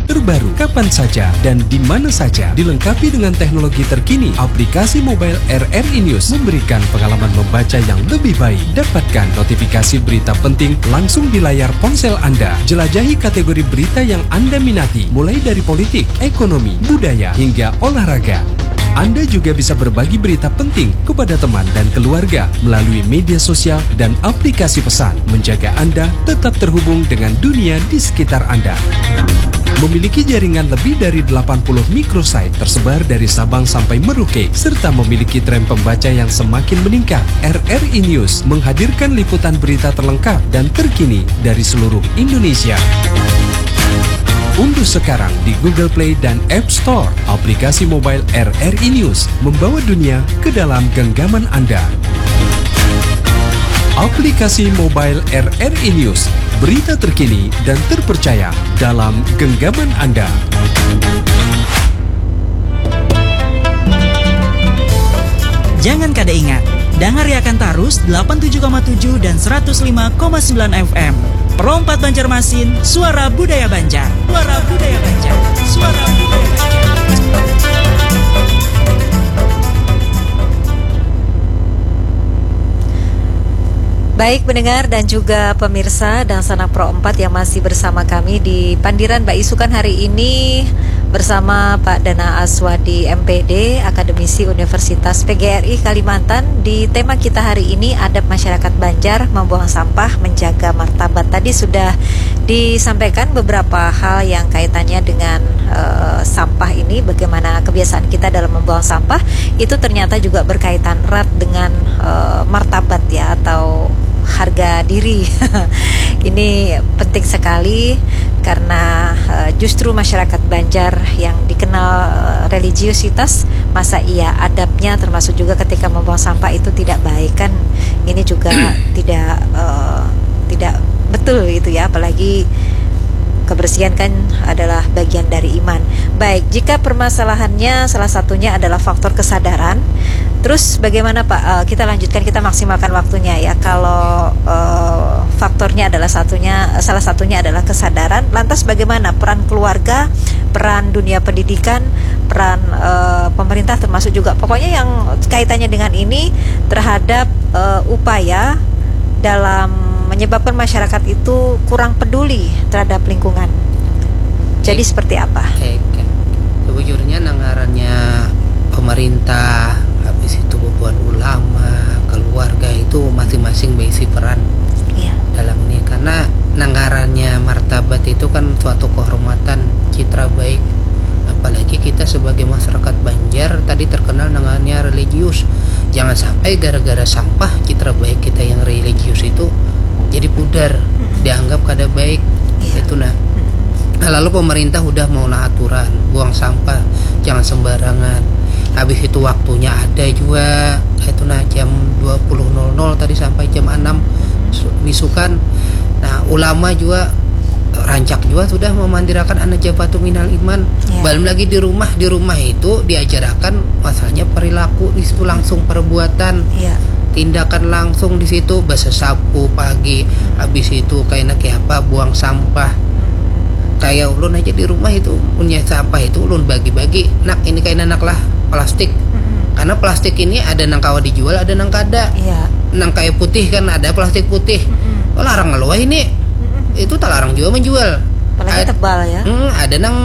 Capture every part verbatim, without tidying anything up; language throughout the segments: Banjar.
terbaru kapan saja dan di mana saja, dilengkapi dengan teknologi terkini. Aplikasi mobile R R I News memberikan pengalaman membaca yang lebih baik. Dapatkan notifikasi berita penting langsung di layar ponsel Anda. Jelajahi kategori berita yang Anda minati, mulai dari politik, ekonomi, budaya, hingga olahraga. Anda juga bisa berbagi berita penting kepada teman dan keluarga melalui media sosial dan aplikasi pesan, menjaga Anda tetap terhubung dengan dunia di sekitar Anda. Memiliki jaringan lebih dari delapan puluh microsite tersebar dari Sabang sampai Merauke, serta memiliki tren pembaca yang semakin meningkat, R R I News menghadirkan liputan berita terlengkap dan terkini dari seluruh Indonesia. Unduh sekarang di Google Play dan App Store aplikasi mobile R R I News, membawa dunia ke dalam genggaman Anda. Aplikasi mobile R R I News, berita terkini dan terpercaya dalam genggaman Anda. Jangan kada ingat, dangariakan tarus delapan tujuh koma tujuh dan seratus lima koma sembilan F M. Pro empat Banjarmasin, suara budaya Banjar. Suara budaya Banjar. Suara budaya Banjar. Baik pendengar dan juga pemirsa Dangsanak Pro empat yang masih bersama kami di pandiran baisukan hari ini bersama Pak Dana Aswadi, M P D, Akademisi Universitas P G R I Kalimantan. Di tema kita hari ini, adab masyarakat Banjar membuang sampah, menjaga martabat. Tadi sudah disampaikan beberapa hal yang kaitannya dengan, eh, sampah ini, bagaimana kebiasaan kita dalam membuang sampah, itu ternyata juga berkaitan erat dengan, eh, martabat ya, atau harga diri. Ini penting sekali karena, eh, justru masyarakat Banjar yang dikenal, eh, religiusitas, masa iya adabnya termasuk juga ketika membuang sampah itu tidak baik kan? Ini juga tidak, eh, tidak betul gitu ya, apalagi kebersihan kan adalah bagian dari iman. Baik, jika permasalahannya salah satunya adalah faktor kesadaran, terus bagaimana Pak? Eh, kita lanjutkan, kita maksimalkan waktunya ya. Kalau, eh, faktornya adalah satunya, salah satunya adalah kesadaran, lantas bagaimana peran keluarga, peran dunia pendidikan, peran, eh, pemerintah termasuk juga pokoknya yang kaitannya dengan ini terhadap, eh, upaya dalam menyebabkan masyarakat itu kurang peduli terhadap lingkungan. Jadi seperti apa? Oke, oke. Sebujurnya nang ngarannya pemerintah, habis itu bubuhan ulama, keluarga itu masing-masing berisi peran Iya. dalam ini. Karena nang ngarannya martabat itu kan suatu kehormatan, citra baik. Apalagi kita sebagai masyarakat Banjar tadi terkenal nang ngarannya religius. Jangan sampai gara-gara sampah citra baik kita yang religius itu jadi pudar, dianggap kada baik. Iya. Itu nah. Nah, lalu pemerintah udah mau nah aturan, buang sampah jangan sembarangan. Habis itu waktunya ada juga, itu nah jam dua puluh nol nol tadi sampai jam enam su-, bisukan. Nah, ulama juga rancak juga sudah memandirakan anda jabatu minal iman. Iya. Belum lagi di rumah, di rumah itu diajarakan masalahnya perilaku, di situ langsung perbuatan. Iya. Tindakan langsung di situ, basasapu pagi, habis itu kayak nak apa, buang sampah. Kayak ulun aja di rumah itu punya sampah itu ulun bagi-bagi. Nak, ini kayak nak lah plastik. Mm-mm. Karena plastik ini ada nang kawa dijual, ada nang kada. Iya. Nang kayak putih kan ada plastik putih. Mm-mm. Oh, larang ngeluah ini. Mm-mm. Itu tak larang juga menjual. Apalagi Ad-, tebal ya. Hmm, ada nang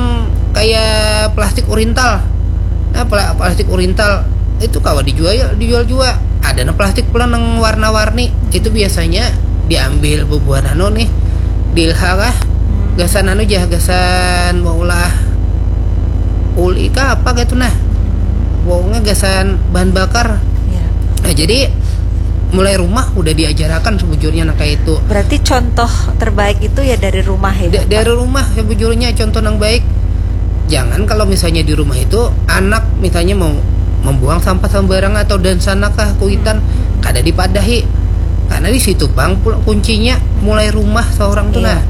kayak plastik urintal. Nah, pla-, plastik urintal itu kawa dijual, dijual juga. Ada nang plastik pula nang warna-warni. Itu biasanya diambil bubuhan anu nih. Dilha kah? Hmm. Gasan anu jah, gasan maulah uli kah apa gitu nah. Pokoknya gasan bahan bakar. Ya. Nah, jadi mulai rumah udah diajarakan sebujurnya nang kayak itu. Berarti contoh terbaik itu ya dari rumah ya, Da-, Pak? Dari rumah sebujurnya contoh nang baik. Jangan kalau misalnya di rumah itu anak misalnya mau membuang sampah sembarangan atau dan sana kah kuitan, hmm, kada dipadahi. Karena di situ pang pul-, kuncinya mulai rumah seorang tuh, iya, nah.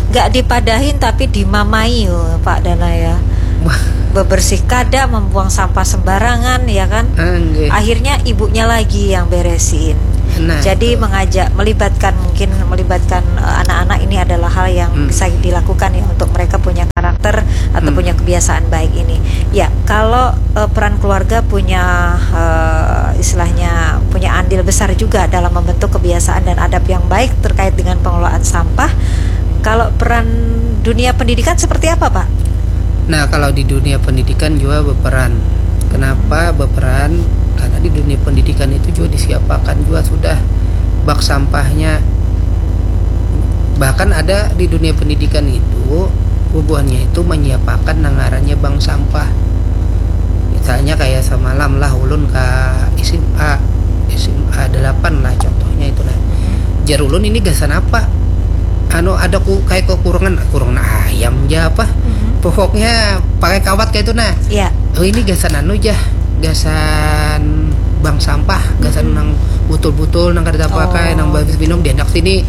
Nggak dipadahin tapi dimamai, oh, Pak Dana ya. Wah. Bebersih kada, membuang sampah sembarangan ya kan. Ah, nggih. Akhirnya ibunya lagi yang beresin. Nah, jadi betul. Mengajak, melibatkan, mungkin melibatkan, eh, anak-anak ini adalah hal yang, hmm, bisa dilakukan ya untuk mereka punya kebiasaan baik ini. Ya, kalau uh, peran keluarga punya uh, istilahnya punya andil besar juga dalam membentuk kebiasaan dan adab yang baik terkait dengan pengelolaan sampah. Kalau peran dunia pendidikan seperti apa, Pak? Nah, kalau di dunia pendidikan juga berperan. Kenapa berperan? Karena di dunia pendidikan itu juga disiapakan juga sudah bak sampahnya. Bahkan ada di dunia pendidikan itu bubuhannya itu menyiapakan nang ngarannya bank sampah. Misalnya kayak semalam lah ulun ke SMA, SMA delapan lah contohnya itu lah. Jar ulun ini gasan apa? Anu ada ku kayak kekurangan, kurungan ayam ja apa? Pokoknya pakai kawat kayak itu nah. Ya. Oh ini gasan anu ja, gasan bank sampah, gasan nang butul-butul nang kada tapakai, Oh. nang habis minum diandak sini.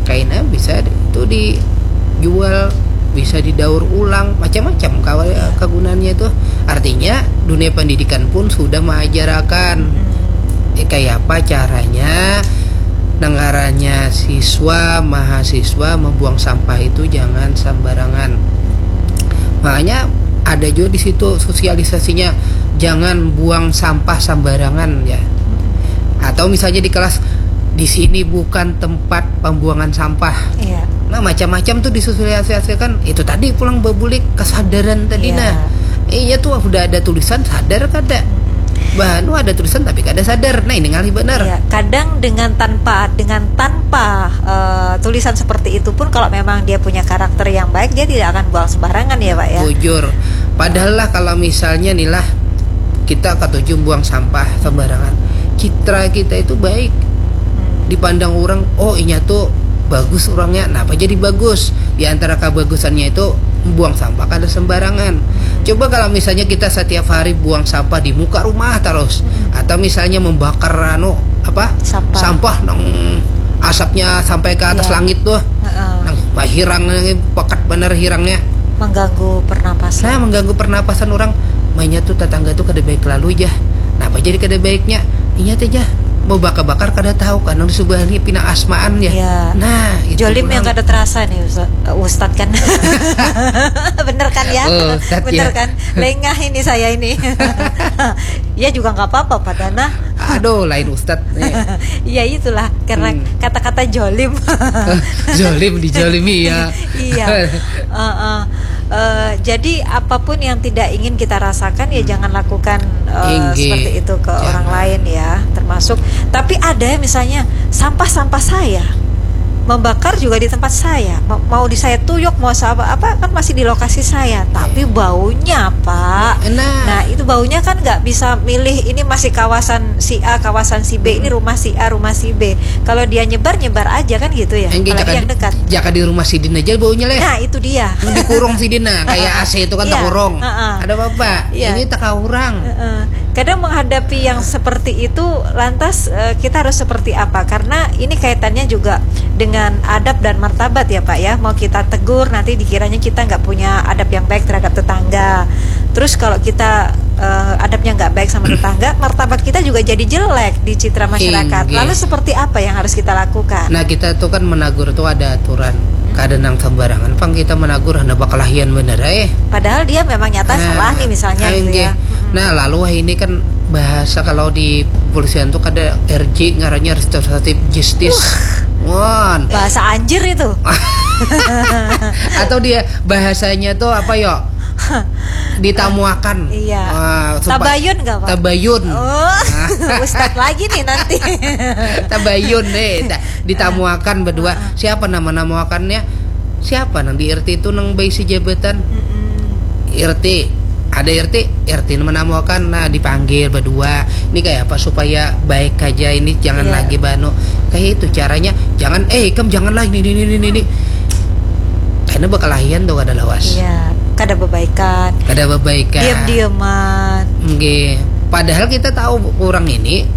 Kaina bisa itu dijual, bisa didaur ulang, macam-macam kawa- kagunaannya itu. Artinya dunia pendidikan pun sudah mengajarkan eh, kayak apa caranya nang ngarannya siswa mahasiswa membuang sampah itu jangan sembarangan. Makanya ada juga di situ sosialisasinya, jangan buang sampah sembarangan ya. Atau misalnya di kelas, di sini bukan tempat pembuangan sampah. Iya. Nah, macam-macam tuh disosialisasikan. Itu tadi pulang bebulik kesadaran tadi Iya. Nah. Iya tuh sudah ada tulisan sadar kada. Bah, nu ada tulisan tapi kada sadar. Nah, ini ngalih benar. Iya, kadang dengan tanpa dengan tanpa eh, tulisan seperti itu pun kalau memang dia punya karakter yang baik dia tidak akan buang sembarangan ya, Pak ya. Bujur. Padahal lah kalau misalnya nih lah kita katuju buang sampah sembarangan. Citra kita itu baik. Dipandang orang, oh inya tuh bagus orangnya. Kenapa jadi bagus? Di antara kebagusannya itu buang sampah kada sembarangan. Coba kalau misalnya kita setiap hari buang sampah di muka rumah terus, atau misalnya membakar anu apa? Sampah. Sampah nang asapnya sampai ke atas Iya. Langit tuh. Heeh. Nang hirang pekat bener hirangnya. Mengganggu pernapasan. Nah, mengganggu pernapasan orang. Mainnya tuh tetangga tuh kada baik lalu aja. Kenapa jadi kada baiknya? Ingat aja, mau bakar-bakar kada tahu kan nang di sebelah ini pina asmaan ya. Iya. Nah, itu Jolim yang pulang. Kada terasa nih Ustaz, Ustaz kan. Bener kan ya? Oh, Ustaz, Bener ya. Kan? Lengah ini saya ini. Ya juga nggak apa-apa padahal nah. Aduh, lain ustad nih. Ya itulah karena Hmm. Kata-kata jolim. Jolim dijolimi ya. Iya. Heeh. Eh, jadi apapun yang tidak ingin kita rasakan ya jangan lakukan eh, Inggih. Seperti itu ke Jangan. Orang lain ya, termasuk. Tapi ada misalnya sampah-sampah saya membakar juga di tempat saya. Ma- Mau di saya tuyuk, mau apa apa kan masih di lokasi saya, tapi baunya, Pak. Nah. Nah, itu baunya kan nggak bisa milih ini masih kawasan si A, kawasan si B, ini rumah si A, rumah si B. Kalau dia nyebar, nyebar aja kan gitu ya. Enggak, Apalagi jaka, yang dekat. Jaka di rumah sidin aja baunya leh. Nah, itu dia. Dikurung sidin nah, kayak A C itu kan Iya. Takurung. Heeh. Ada apa-apa? Iya. Ini tak kurang. Heeh. Kadang menghadapi yang seperti itu, lantas eh, kita harus seperti apa? Karena ini kaitannya juga dengan adab dan martabat ya Pak ya. Mau kita tegur nanti dikiranya kita nggak punya adab yang baik terhadap tetangga. Terus kalau kita eh, adabnya nggak baik sama tetangga, martabat kita juga jadi jelek di citra masyarakat. Inggih. Lalu seperti apa yang harus kita lakukan? Nah kita tuh kan menagur tuh ada aturan. Kada nang sembarangan pang kita menagur, hana bakalahian bener eh. Padahal dia memang nyata salah nih misalnya gitu ya. Nah lalu wah ini kan bahasa kalau di polisian tuh kada R J ngarannya restoratif justice. Wah. Bahasa anjir itu. Atau dia bahasanya tuh apa yo? Ditamuakan. Iya. Wah, supa- Tabayun gak, Pak? Tabayun. Oh, ustad lagi nih nanti. Tabayun deh. Nah, ditamuakan berdua. Siapa nama namuakannya? Siapa nang di R T itu nang baisi jabatan? R T. Ada R T, R T menamuakan, nah dipanggil berdua. Ini kayak apa supaya baik aja ini jangan Iya. Lagi banu. Kayak itu caranya. Jangan eh ikam janganlah ini ini ini ini. Karena bakalahian tuh kada lawas. Iya, kada bebaikan. Kada bebaikan. Diam-diaman. Nggih. Padahal kita tahu orang ini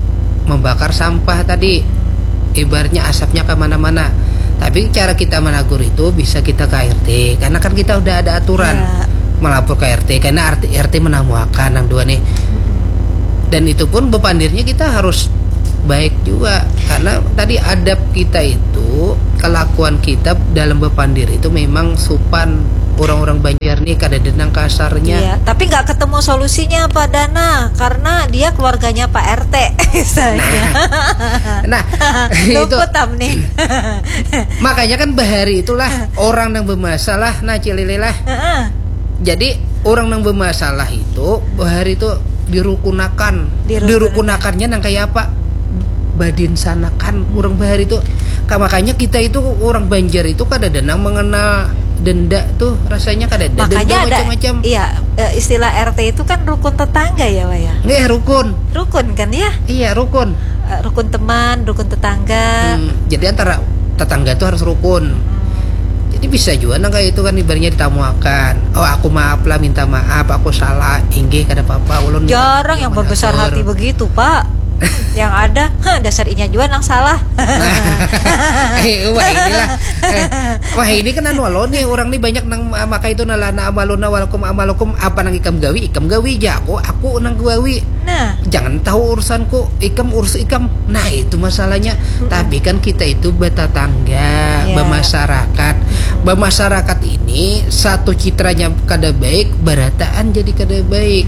membakar sampah tadi. Ibaratnya asapnya kemana-mana. Tapi cara kita menagur itu bisa kita ke R T. Karena kan kita udah ada aturan Ya. Melapor ke R T. Karena R T, R T menamuakan yang dua nih. Dan itu pun bepandirnya kita harus baik juga. Karena tadi adab kita itu, kelakuan kita dalam bepandir itu memang supan. orang-orang Banjar nih kada denang kasarnya. Iya, tapi nggak ketemu solusinya, Pak Dana, karena dia keluarganya Pak R T misalnya. Nah, itu. Luput am nih. Makanya kan bahari itulah orang yang bermasalah, nah, Cilili lah. Heeh. Jadi orang yang bermasalah itu bahari itu dirukunakan. Dirukunakan. Dirukunakannya nang kayak apa? Badinsanakan orang bahari itu. Ka-, makanya kita itu orang Banjar itu kada ada nang mengenal denda tuh, rasanya kada ada. Makanya denda ada, macam-macam. Iya, eh, istilah R T itu kan rukun tetangga ya, Wak, ya? Nggih, rukun. Rukun kan ya? Iya, rukun. Eh, rukun teman, rukun tetangga. Hmm, jadi antara tetangga tuh harus rukun. Hmm. Jadi bisa juga nang kayak itu kan, ibaratnya ditamuakan. "Oh, aku maaf lah, minta maaf, aku salah." "Inggih, kada apa-apa, ulun minta maaf." Jarang yang berbesar hati begitu, Pak. Yang ada, "Heh, dasar inya jua nang salah." Eh, wah, inilah. Eh, wah, ini kan anu lo nih, orang nih banyak nang ma-, maka itu nalana amaluna walakum amalukum, apa nang ikam gawi, ikam gawi ja, aku, aku nang gawi. Nah. Jangan tahu urusanku, ikam urus ikam. Nah, itu masalahnya. Mm-mm. Tapi kan kita itu bertetangga, iya, bermasyarakat. Mm-mm. Bermasyarakat ini satu citranya kada baik, berataan jadi kada baik.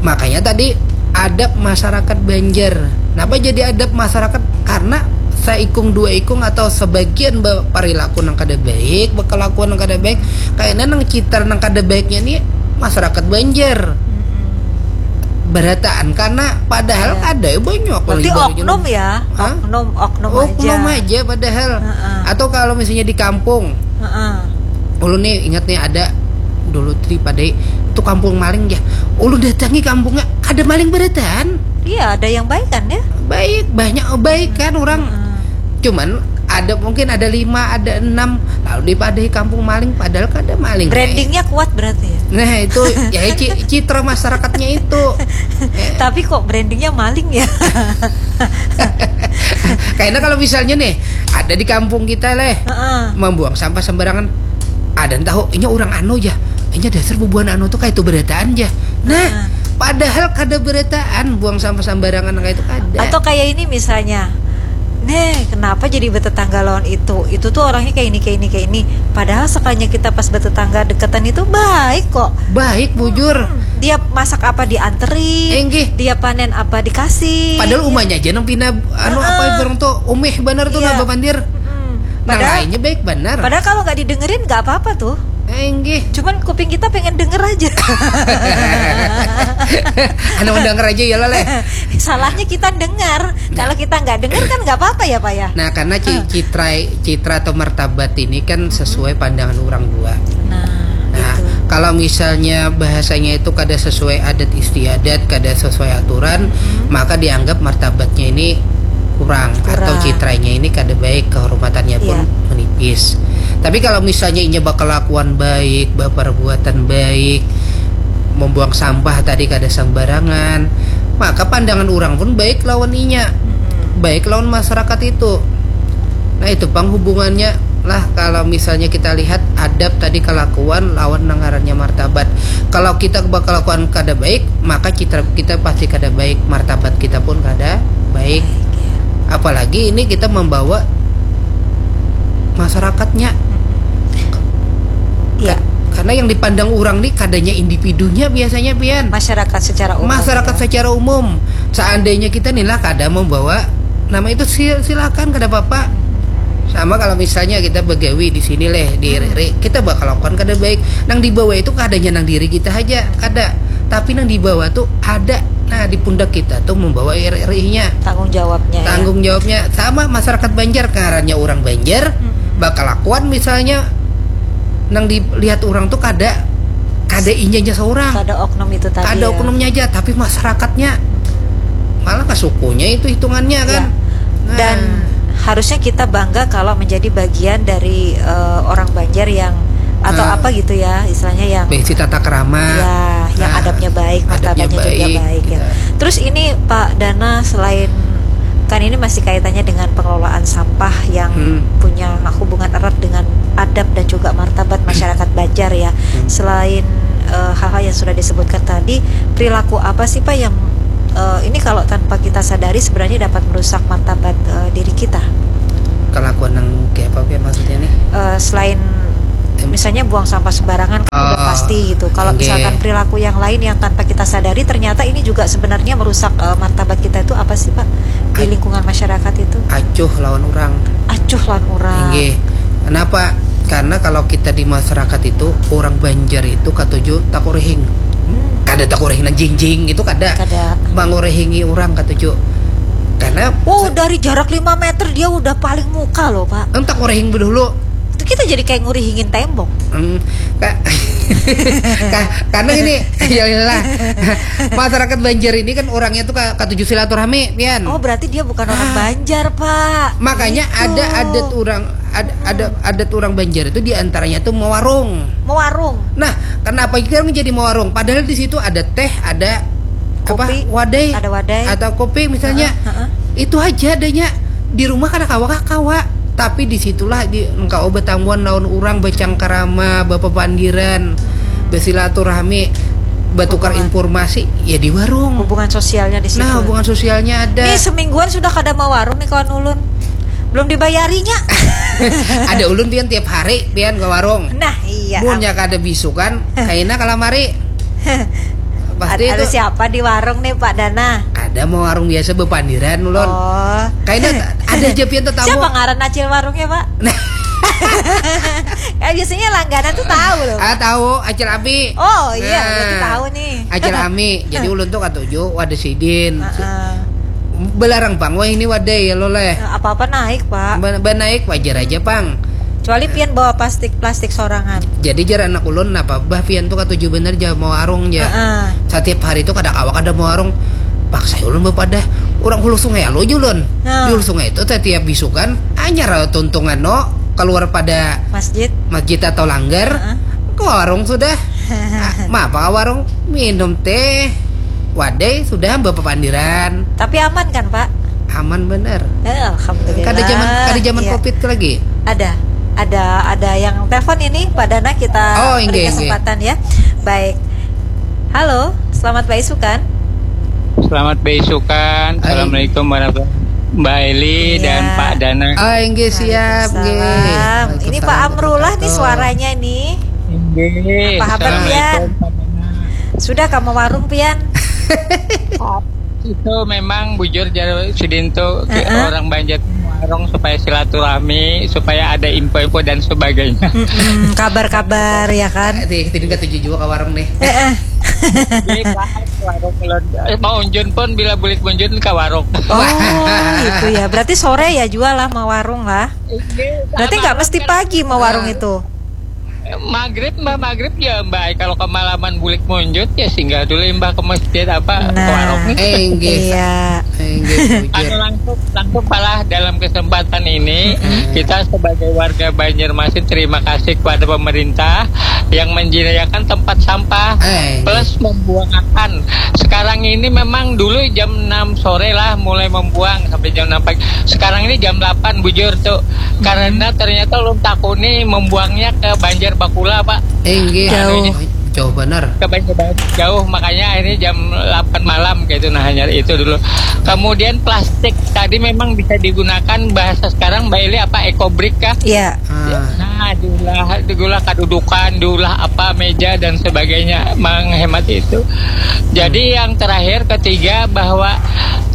Makanya tadi adab masyarakat Banjar. Kenapa jadi adab masyarakat? Karena saikung dua ikung atau sebagian be-, perilaku nang kada baik, berkelakuan nang kada baik, kayaknya nang citra nang kada baiknya nih masyarakat Banjar. Mm-mm. Berataan karena padahal, iya, ada banyak. Berarti orang Banjar oknum ya? Hah? Oknum, oknum aja. Oknum aja padahal. Heeh. Atau kalau misalnya di kampung, heeh, ulun nih ingat nih ada dulu di Padai itu kampung maling ya. Ulun datangi kampungnya, kada maling berataan. Iya, ada yang baik kan ya? Baik, banyak baik kan orang. Heeh. Cuman ada, mungkin ada lima, ada enam, lalu di Padai kampung maling, padahal kada maling. Brandingnya kuat berarti ya? Nah, itu ya, ci-, citra masyarakatnya itu. Tapi kok brandingnya maling ya? Kayaknya kalau misalnya nih, ada di kampung kita leh, heeh, membuang sampah sembarangan, ada yang tahu, inya orang anu ja, inya dasar bubuhan anu tuh kayak itu berataan ja. Nah, heeh, padahal kada berataan buang sampah sembarangan kayak itu kada. Atau kayak ini misalnya, "Neh, kenapa jadi bertetangga lawan itu? Itu tuh orangnya kayak ini, kayak ini, kayak ini." Padahal sekalinya kita pas bertetangga deketan itu baik kok. Baik, bujur. Hmm, dia masak apa dianterin, enggih, dia panen apa dikasih. Padahal umanya aja nang pina, anu, heeh, apa, orang tuh umeh banar tuh, iya, nang bapandir. Mm-mm. Nang padahal lainnya baik banar. Padahal kalau nggak didengerin nggak apa-apa tuh. Enggih. Cuman kuping kita pengen denger aja. Anu, denger aja ya lah, leh. Salahnya kita dengar. Nah. Kalau kita nggak dengar kan nggak apa-apa ya, Pak, ya? Nah, karena ci-, heeh, citra, citra atau martabat ini kan, mm-mm, sesuai pandangan orang dua. Nah, nah, gitu. Kalau misalnya bahasanya itu kada sesuai adat istiadat, kada sesuai aturan, mm-mm, maka dianggap martabatnya ini kurang, kurang, atau citranya ini kada baik, kehormatannya pun, iya, menipis. Tapi kalau misalnya inya berkelakuan baik, berperbuatan baik, membuang sampah tadi kada sembarangan, maka pandangan orang pun baik lawan inya, mm-mm, baik lawan masyarakat itu. Nah, itu pang hubungannya lah, kalau misalnya kita lihat adab tadi, kelakuan lawan nang ngarannya martabat. Kalau kita berkelakuan kada baik, maka citra kita pasti kada baik, martabat kita pun kada baik. Baik, ya. Apalagi ini kita membawa masyarakatnya. Mm-mm. Iya. Ka-, karena yang dipandang orang nih kadanya individunya biasanya, pian. Masyarakat secara umum, masyarakat, ya, secara umum. Seandainya kita nih lah kada membawa nama itu, sil-, silakan, kada apa-apa. Sama kalau misalnya kita begawi di sini leh, di, hmm, Riri, kita bakal lakukan kada baik. Nang dibawa itu kadanya nang diri kita aja, kada. Tapi nang dibawa tuh ada. Nah, di pundak kita tuh membawa R R I-nya. Tanggung jawabnya, ya. Tanggung jawabnya. Sama masyarakat Banjar, ngarannya orang Banjar, hmm, bakal lakuan misalnya nang dilihat orang tuh kada, kada inyanya seorang. Kada oknum itu tadi, kada, ya, oknumnya aja, tapi masyarakatnya. Malah ke sukunya itu hitungannya, kan. Ya. Nah. Dan harusnya kita bangga kalau menjadi bagian dari, eh, orang Banjar yang, atau, nah, apa gitu ya, istilahnya yang, besi tata krama. Ya, yang, nah, adabnya baik, adabnya martabatnya juga baik, baik, ya, gitu. Terus ini, Pak Dana, selain, kan ini masih kaitannya dengan pengelolaan sampah yang, hmm, punya hubungan erat dengan adab dan juga martabat masyarakat Banjar, ya. Hmm. Selain, eh, hal-hal yang sudah disebutkan tadi, perilaku apa sih, Pak, yang, eh, ini kalau tanpa kita sadari sebenarnya dapat merusak martabat, eh, diri kita? Kelakuan yang kayak apa, Pian, maksudnya nih? Eh, selain Misalnya buang sampah sembarangan kan udah Oh, pasti gitu. Kalau oke. Misalkan perilaku yang lain yang tanpa kita sadari, ternyata ini juga sebenarnya merusak eh, martabat kita itu apa sih, Pak? Di Ad- lingkungan masyarakat itu. Acuh lawan orang. Acuh lawan orang. Inggih. Kenapa? Karena kalau kita di masyarakat itu, orang Banjar itu katuju takurihing. Hmm. Kada takurihing nang jingjing itu kada. Kada. Mangurihingi orang katuju. Karena Oh, dari jarak lima meter dia udah paling muka loh, Pak. Entah kurihing dulu. Itu kita jadi kayak ngurihingin tembok. Hmm, ka- ka- karena gini, ya iyalah. Masyarakat Banjar ini kan orangnya tuh ka- katuju silaturahmi, pian. Oh, berarti dia bukan orang Ah. Banjar, Pak. Makanya Gitu. Ada adat orang, ada ada adat orang Banjar itu diantaranya tuh mewarung. Mewarung. Nah, kenapa kita jadi mewarung? Padahal di situ ada teh, ada apa? Kopi, Wadai. Ada wadai. Atau kopi misalnya. Heeh, heeh. Itu aja adanya. Di rumah kada kawa kah kawa. Tapi disitulah di engkau bertamuan lawan orang bercangkarama, berpapandiran, bersilaturahmi, bertukar Hubungan. Informasi ya di warung. Hubungan sosialnya di situ. Nah, hubungan sosialnya ada. Nih semingguan sudah kada mau warung nih kawan ulun. Belum dibayarinya. Ada ulun pian tiap hari pian ke warung. Nah, iya. Munnya kada bisukan, kaina kalamari. Pasti Ada, ada itu siapa di warung nih, Pak Dana? Ada mau warung biasa berpandiran ulun. Oh. Kaina ada aja pian tetamu. Siapa ngaran acil warungnya, Pak? Nah. Ya, biasanya langganan tuh tahu loh. Ah, tahu Acil Abi. Oh iya, Nah. Berarti tahu nih. Acil Ami. Jadi ulun tuh katuju wadah sidin. Heeh. Belarang pang wah ini wadai ya lo leh. Apa-apa naik, Pak. Ba- ba naik wajar aja pang. Kecuali pian bawa plastik-plastik sorangan. Jadi jar anak ulun napa bah pian tuh katuju bener jar mau warung jar. Heeh. Setiap hari tuh kada kawa kada mau warung. Paksa ulun bepadah orang hulu sungai alo aja ulun. Nah. Di hulu sungai itu setiap bisukan anyar tuntungan no keluar pada Masjid. Masjid atau langgar Heeh. Ke warung sudah. Ah, mapa ke warung minum teh wadai sudah bapapandiran. Tapi aman kan, Pak? Aman bener. Eh, alhamdulillah. Kada zaman kada zaman Iya. covid lagi. Ada, ada, ada yang telepon ini, Pak Dana, kita Oh, beri inggih, kesempatan ya. Baik. Halo, selamat baisukan. Selamat beisukan. Hai. Assalamualaikum warahmatullahi wabarakatuh. Mbak Eli Iya. dan Pak Dana. Ah, inggih siap, inggih. Waalaikumsalam. Ini Pak Waalaikumsalam Amrullah nih warahmatullahi suaranya nih. Inggih. Apa kabar, Pian? Assalamualaikum, Pak Dana. Sudah kamu warung, Pian? Itu memang bujur jar sidin tuh, Heeh. Orang Banjar warung supaya silaturahmi, supaya ada info-info dan sebagainya. Mm-mm, kabar-kabar ya kan? Di di katuju juga ke warung nih. Jadi, Pak, warung ulun. Eh, mau unjun pun bila bulik munjun ke warung. Oh, itu ya. Berarti sore ya jual lah mau warung lah. Inggih, Berarti nggak malam mesti kan, pagi mau warung Ah. itu. Maghrib, mbah, maghrib ya, mbah. Kalau kemalaman bulik munjun ya singgah dulu, mbah, ke masjid apa ke Nah. warung. Eh, inggih. Iya. Eh, inggih, Anu, bujur. langsung langsung malah dalam kesempatan ini Mm-mm. kita sebagai warga Banjarmasin terima kasih kepada pemerintah yang menyediakan tempat sampah Eh, plus membuangakan. Sekarang ini memang dulu jam enam sore lah mulai membuang sampai jam enam pagi. Sekarang ini jam delapan bujur tuh. Karena ternyata ulun takuni membuangnya ke Banjar Bakula, Pak. Eh, inggih. Jauh. Jauh bener. Ke Banjar Bakula jauh, makanya akhirnya jam delapan malam gitu, nah, hanya itu dulu. Kemudian plastik tadi memang bisa digunakan, bahasa sekarang Mbak Eli apa, eco brick kah? Iya. Ah. Nah, diulah, diulah kadudukan, diulah apa, meja dan sebagainya, menghemat itu. Jadi yang terakhir, ketiga, bahwa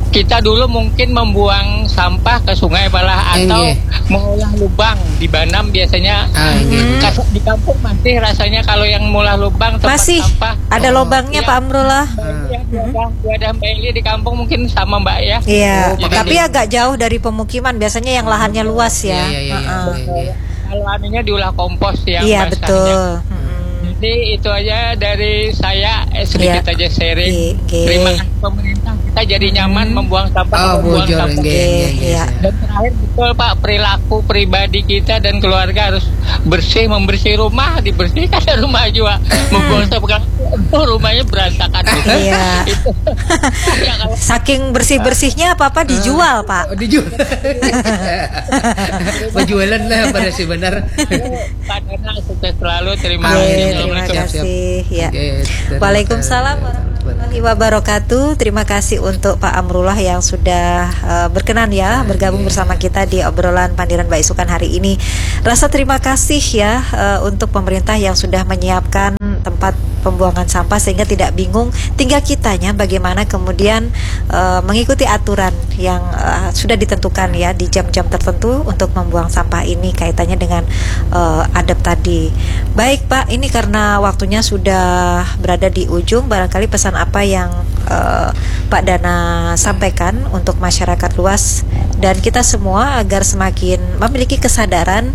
kita dulu mungkin membuang sampah ke sungai malah atau Inggih. mengolah lubang di Banam biasanya. Ah, inggih. Kas- Di kampung masih rasanya kalau yang mengolah lubang tempat Masih sampah. ada Oh. lobangnya, Iya. Pak Amrullah. Ya, wadah, wadah Mbak Eli di kampung mungkin sama, Mbak, ya. Iya, Oh, tapi pakai- agak jauh dari pemukiman. Biasanya yang lahannya luas ya. Iya, iya, iya, Heeh. iya, iya. Kalau anunya diulah kompos yang Iya, basahnya. Betul. Mm-mm. Jadi itu aja dari saya, eh, sedikit Iya. aja sharing. Oke. Terima kasih pemerintah, kita jadi nyaman Hmm. membuang sampah, Oh, membuang bujur, sampah. inggih, inggih, Iya. inggih. Dan terakhir, betul, Pak, perilaku pribadi kita dan keluarga harus bersih, membersih rumah, dibersihkan rumah juga. Membuang sampah, rumahnya berantakan. Iya. Itu. Ya, kalau Saking bersih-bersihnya apa-apa dijual, Pak. Oh, dijual. Berjualan lah pada si benar. Pak Dana, sukses selalu. Terima Amin. kasih. Oke, terima Assalamualaikum. Siap, siap. kasih. Ya. Oke, terima Waalaikumsalam kasih. warahmatullahi Wabarakatuh. Terima kasih untuk Pak Amrullah yang sudah uh, berkenan ya bergabung bersama kita di obrolan Pandiran Baisukan hari ini. Rasa terima kasih ya uh, untuk pemerintah yang sudah menyiapkan tempat pembuangan sampah sehingga tidak bingung, tinggal kitanya bagaimana kemudian uh, mengikuti aturan yang uh, sudah ditentukan ya di jam-jam tertentu untuk membuang sampah ini kaitannya dengan uh, adab tadi. Baik Pak, ini karena waktunya sudah berada di ujung, barangkali pesan apa yang uh, Pak Dana sampaikan untuk masyarakat luas dan kita semua agar semakin memiliki kesadaran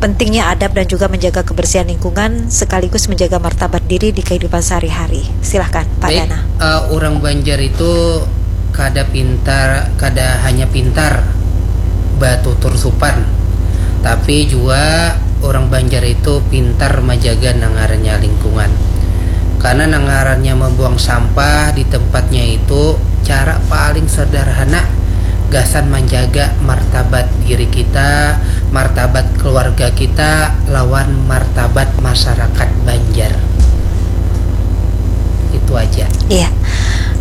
pentingnya adab dan juga menjaga kebersihan lingkungan sekaligus menjaga martabat diri di kehidupan sehari-hari. Silahkan Pak Dana. Uh, orang Banjar itu kada pintar, kada hanya pintar batutur supan, tapi juga orang Banjar itu pintar menjaga nangarannya lingkungan. Karena nangarannya membuang sampah di tempatnya itu cara paling sederhana gasan menjaga martabat diri kita, martabat keluarga kita, lawan martabat masyarakat Banjar. Itu aja. Iya.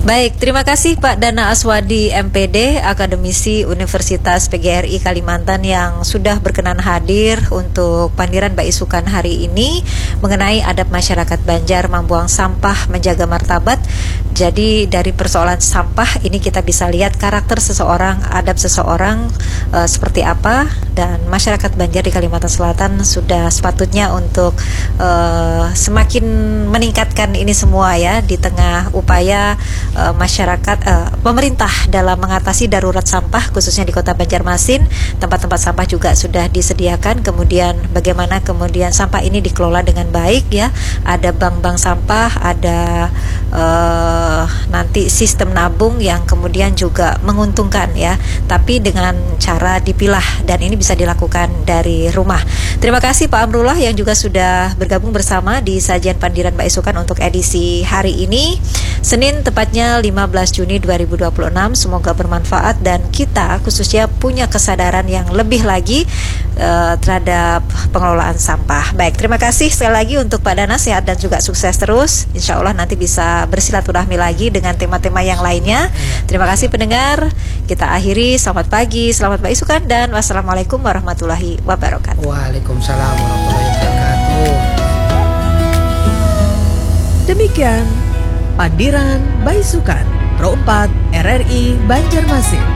Baik, terima kasih Pak Dana Aswadi M P D, Akademisi Universitas P G R I Kalimantan yang sudah berkenan hadir untuk pandiran baisukan hari ini mengenai adab masyarakat Banjar membuang sampah menjaga martabat. Jadi dari persoalan sampah ini kita bisa lihat karakter seseorang, adab seseorang uh, seperti apa dan masyarakat Banjar di Kalimantan Selatan sudah sepatutnya untuk uh, semakin meningkatkan ini semua ya di tengah upaya uh, masyarakat uh, pemerintah dalam mengatasi darurat sampah khususnya di Kota Banjarmasin. Tempat-tempat sampah juga sudah disediakan, kemudian bagaimana kemudian sampah ini dikelola dengan baik ya, ada bank-bank sampah, ada uh, nanti sistem nabung yang kemudian juga menguntungkan ya, tapi dengan cara dipilah dan ini bisa dilakukan dari rumah. Terima kasih Pak Amrullah yang juga sudah bergabung bersama di sajian Pandiran Baisukan untuk edisi hari ini, Senin tepatnya lima belas Juni dua ribu dua puluh enam. Semoga bermanfaat dan kita khususnya punya kesadaran yang lebih lagi uh, terhadap pengelolaan sampah. Baik, terima kasih sekali lagi untuk Pak Dana, sehat dan juga sukses terus. Insya Allah nanti bisa bersilaturahmi lagi dengan tema-tema yang lainnya. Terima kasih pendengar. Kita akhiri. Selamat pagi, selamat baisukan, dan wassalamualaikum warahmatullahi wabarakatuh. Waalaikumsalam warahmatullahi wabarakatuh. Demikian Pandiran Baisukan Pro empat R R I Banjarmasin.